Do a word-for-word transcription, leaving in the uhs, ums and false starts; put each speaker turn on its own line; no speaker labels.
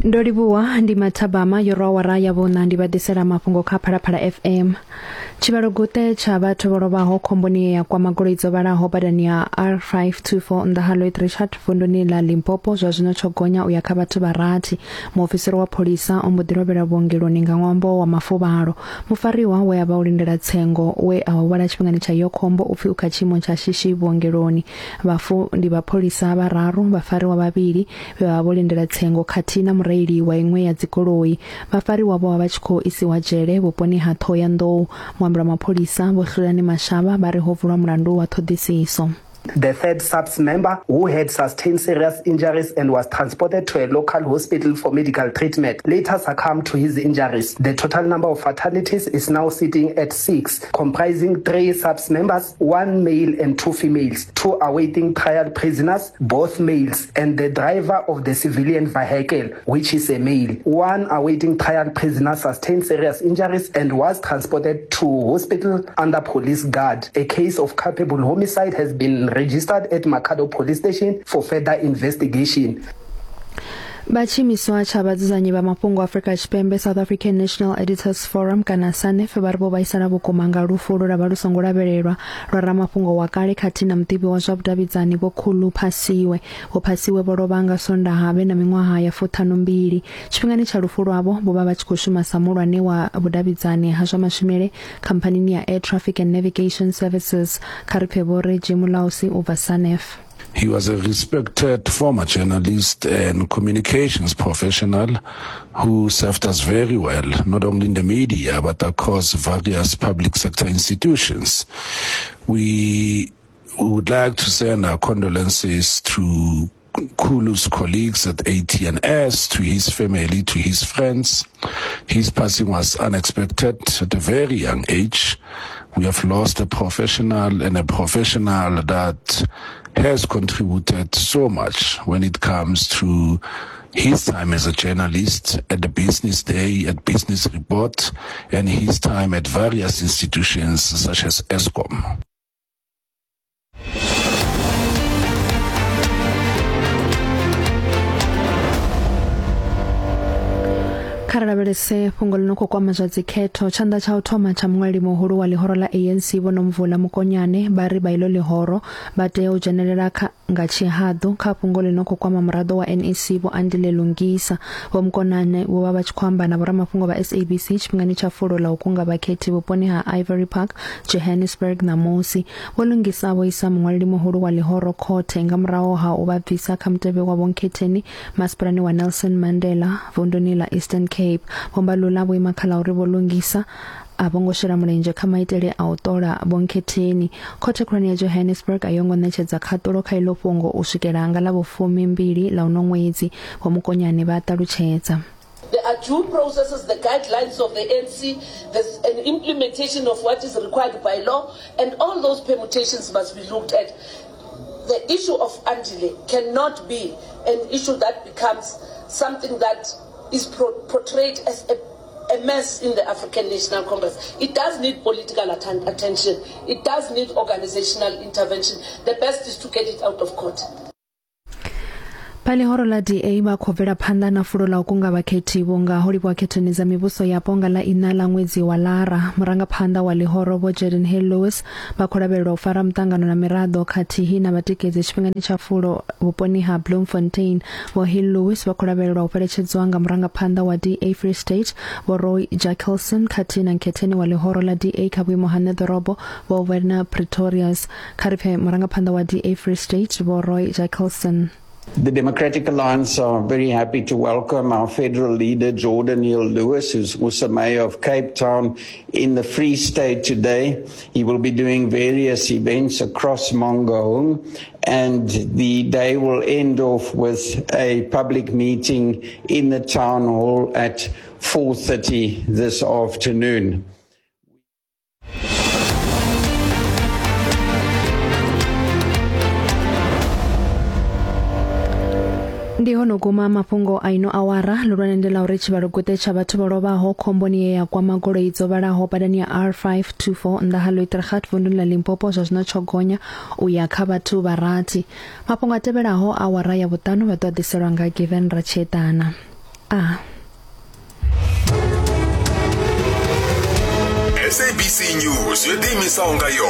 Ndo livhuwa ndi mathabama yo rwa awara ya vhuṋa ndi vha ḓisela mafhungo kha Phalaphala F M. Tshivhalo guṱe tsha vhathu vho lovhaho khomboni ya kwama goloi dzo vhalaho badani ya R five two four nnḓa ha Lloyd Richard vunduni ḽa Limpopo zwa zwino tsho gonya u ya kha vhathu vha rathi. Muofisiri wa pholisa o mbo ḓi lovhela vhuongeloni nga ṅwambo wa mafuvhalo. Mufariwa we a vha o lindela tsengo we a huvhala tshifhingani tsha iyo khombo u pfi u kha tshiimo tsha shishi vhuongeloni. Vhafu ndi vhapholisa vhararu, vhafariwa vhavhili vhe vha vho lindela tsengo khathihi na mureili wa iṅwe ya dzigoloi. Vhafariwa vho vha vha tshi khou isiwa dzhele vhuponi ha Thohoyandou. Muambeli wa mapholisa Vho Hlulani Mashaba vha ri ho vulwa mulandu wa ṱhoḓisiso.
The third SAPS member, who had sustained serious injuries and was transported to a local hospital for medical treatment, later succumbed to his injuries. The total number of fatalities is now sitting at six, comprising three SAPS members, one male and two females, two awaiting trial prisoners, both males, and the driver of the civilian vehicle, which is a male. One awaiting trial prisoner sustained serious injuries and was transported to hospital under police guard. A case of culpable homicide has been registered at Makhado Police Station for further investigation.
Vha tshiimiswa tsha vhadzudzanyi vha mafhungo Afrika Tshipembe South African National Editors Forum kana SANEF vha ri vho vhaisala vhukuma nga lufu lwe lwa vha lu songo lavhelelwa lwa ramafhungo wa kale khathihi na muḓivhi wa zwa vhudavhidzani Vho Khulu Phasiwe. Vho Phasiwe vho lovha nga Sondaha vhe na miṅwaha ya fuṱhanumbili. Tshifhingani tsha lufu lwavho vho vha vha tshi khou shuma sa muhulwane wa vhudavhidzani ha zwa mashumele khamphanini ya Air Traffic and Navigation Services. Kha ri pfe Vho Reggie Mulausi u bva SANEF.
He was a respected former journalist and communications professional who served us very well, not only in the media, but across various public sector institutions. We would like to send our condolences to Khulu's colleagues at A T N S, to his family, to his friends. His passing was unexpected at a very young age. We have lost a professional, and a professional that has contributed so much when it comes to his time as a journalist at the Business Day, at Business Report, and his time at various institutions such as Eskom.
Kha ri lavhelese fhungo ḽi no khou kwama zwa dzikhetho. Tshanḓa tsha u thoma tsha muṅwaleli muhulu wa ḽihoro ḽa A N C Vho Nomvula Mokonyane vha ri vha iḽo ḽihoro vha tea u dzhenelela kha nga tshihaḓu kha fhungo ḽi no khou kwama muraḓo wa N E C Vho Andile Lungisa. Vho Mokonyane vho vha vha tshi khou amba na vhoramafhungo vha S A B C tshifhingani tsha fulo ḽa u kunga vhakhethi vhuponi ha Ivory Park, Johannesburg ṋamusi. Vho Lungisa vho isa muṅwaleli muhulu wa ḽihoro khothe nga murahu ha u vha bvisa kha mutevhe wa vhonkhetheni masipalani wa Nelson Mandela vunduni ḽa Eastern Cape. Vho Mbalula vho ima kha ḽa uri Vho Lungisa a vho ngo shela mulenzhe kha maitele a u ṱola vhonkhetheni. Khothe khulwane ya Johannesburg a yo ngo ṋetshedza khaṱulo kha iḽo fhungo u swikela nga ḽa vhufumimbili ḽa uno ṅwedzi. Vho Mokonyane vha ṱalutshedza.
There are due processes, the guidelines of the N C, there's an implementation of what is required by law, and all those permutations must be looked at. The issue of Andile cannot be an issue that becomes something that is pro- portrayed as a, a mess in the African National Congress. It does need political atten- attention. It does need organizational intervention. The best is to get it out of court.
Vha ḽihoro ḽa D A vha khou bvela phanḓa na fulo ḽa u kunga vhakhethi vhunga ho livhiwa khethoni dza mivhuso yapo nga ḽa iṋa ḽa ṅwedzi wa Lara. Murangaphanḓa wa ḽihoro Vho Geordin Hill-Lewis vha khou lavhelelwa u fara muṱangano na miraḓo khathihi na vhatikedzi tshifhingani tsha fulo vhuponi ha Bloemfontein. Vho Hill-Lewis vha khou lavhelelwa u fheletshedzwa nga murangaphanḓa wa D A Free State Vho Roy Jackelson khathihi na nkhetheni wa ḽihoro ḽa D A kha vhuimo ha ṋeḓorobo Vho Werner Pretorius. Kha ri pfe murangaphanḓa wa D A Free State Vho Roy Jackelson.
The Democratic Alliance are very happy to welcome our federal leader, Geordin Hill-Lewis, who's also mayor of Cape Town, in the Free State today. He will be doing various events across Mangaung, and the day will end off with a public meeting in the town hall at four thirty this afternoon.
Ndi hono guma mafhungo a ino awara. Lulwane ndi ḽa uri tshivhalo guṱe tsha vhathu vho lovhaho khomboni ye ya kwama goloi dzo vhalaho badani ya R five two four nnḓa ha Leutergat vunduni ḽa Limpopo zwa zwino tsho gonya u ya kha vhathu vha rathi. Mafhungo a tevhelaho awara ya vhuṱanu vha ḓo ḓiselwa nga Given Ratshetana. A.
S A B C News yo ḓiimisaho nga yoṱhe.